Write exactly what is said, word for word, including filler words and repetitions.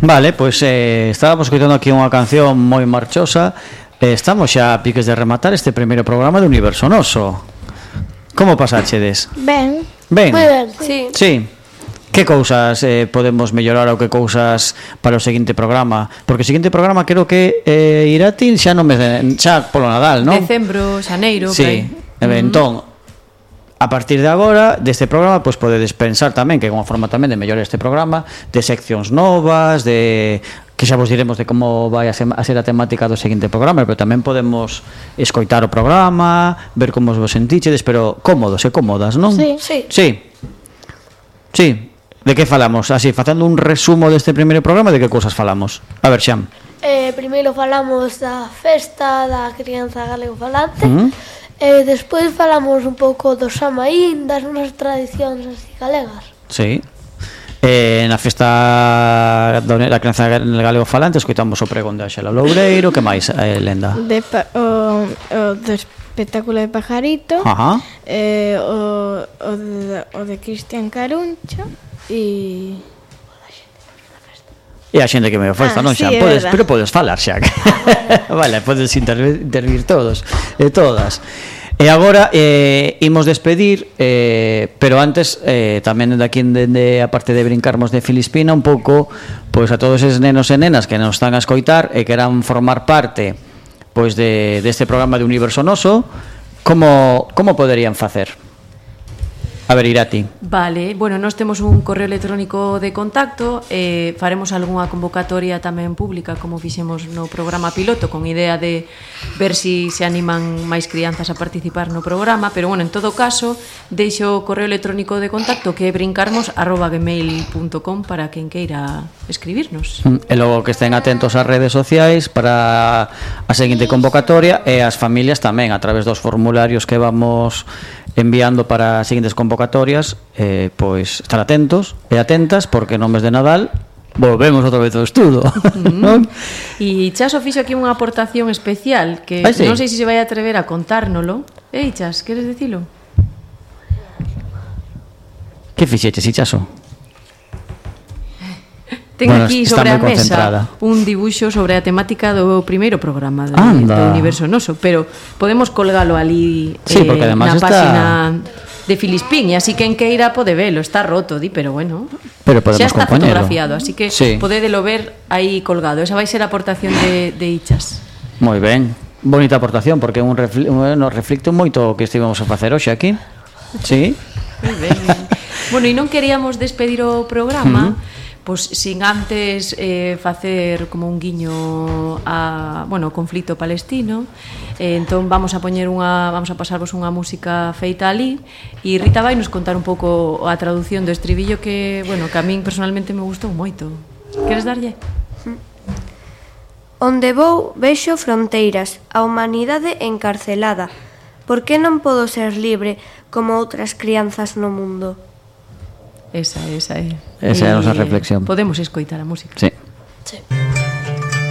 Vale, pois pues, eh, estábamos escoitando aquí unha canción moi marchosa. eh, Estamos xa a piques de rematar este primeiro programa de Universo Noso. Como pasáchedes? Ben. Ben? Moi ben, Sí. Sí. Que cousas eh, podemos mellorar ou que cousas para o seguinte programa? Porque o seguinte programa creo que eh, Irati xa non me de, xa polo Nadal, non? Decembro, xaneiro, Sí. por aí. Entón, a partir de agora, deste programa, pois podedes pensar tamén que é unha forma tamén de mellorar este programa, de seccións novas, de que xa vos diremos de como vai a ser a temática do seguinte programa, pero tamén podemos escoitar o programa, ver como vos sentichedes, pero cómodos e cómodas, non? Sí. Sí. Sí. Sí. De que falamos? Así, facendo un resumo deste primeiro programa, de que cousas falamos? A ver, Xam. Eh, primeiro falamos da festa da crianza galego-falante. Uh -huh. E despois falamos un pouco do Samaín, das nosas tradicións así galegas. Sí. Eh, na festa da crianza galego-falante escoitamos o pregón de Axela Loureiro. Que máis, eh, Lenda? De pa, o, o do espectáculo de Pajarito. Ajá. eh, o, o, de, o de Cristian Caruncho e... E a xente que me festa, Ah, non, sí, xa? é Podes, verdad. pero podes falar, xa. Vale, podes intervir, intervir todos e todas. E agora eh, imos despedir, eh, pero antes eh, tamén de aquí, dende a parte de brincarmos de Filispina, un pouco pois a todos eses nenos e nenas que nos están a escoitar e queran formar parte pois de deste programa de Universo Noso, como como poderían facer? A ver, Irati. Vale, bueno, nós temos un correo electrónico de contacto, eh, faremos algunha convocatoria tamén pública como fixemos no programa piloto, con idea de ver si se animan máis crianzas a participar no programa, pero bueno, en todo caso deixo o correo electrónico de contacto que é brincarmos arroba gmail punto com para quen queira escribirnos. E logo que estén atentos ás redes sociais para a seguinte convocatoria, e as familias tamén a través dos formularios que vamos enviando para as seguintes convocatorias, eh, pois estar atentos e atentas, porque no mes de Nadal volvemos outra vez ao estudo. Non? E Chaso fixo aquí unha aportación especial que Ai, sí. non sei se se vai atrever a contárnolo. Ei, Chas, queres dicilo? Que fixeches, Ichaso? Ten Bueno, aquí está sobre a moi mesa concentrada. un dibuixo sobre a temática do primeiro programa do, Anda. do Universo Noso, pero podemos colgalo ali Sí, eh, porque además na está- páxina de Filispín, e así quen queira pode velo, está roto, di, pero bueno, Pero podemos xa está compoñelo. fotografiado, así que Sí. podedelo ver aí colgado. Esa vai ser a aportación de, de Ichas. Moi ben, bonita aportación, porque un refli nos reflicte moito o que estivemos a facer hoxe aquí. Sí. Moi ben. Bueno, e non queríamos despedir o programa, uh-huh. pois sin antes eh, facer como un guiño a, bueno, o conflito palestino. Eh, entón vamos a poñer unha, vamos a pasarvos unha música feita ali, e Rita vai nos contar un pouco a traducción do estribillo que, bueno, que a min personalmente me gustou moito. Queres darlle? Onde vou vexo fronteiras, a humanidade encarcelada. Por que non podo ser libre como outras crianzas no mundo? Esa, esa é. Esa é a E nosa reflexión. Podemos escoitar a música. Sí. Sí.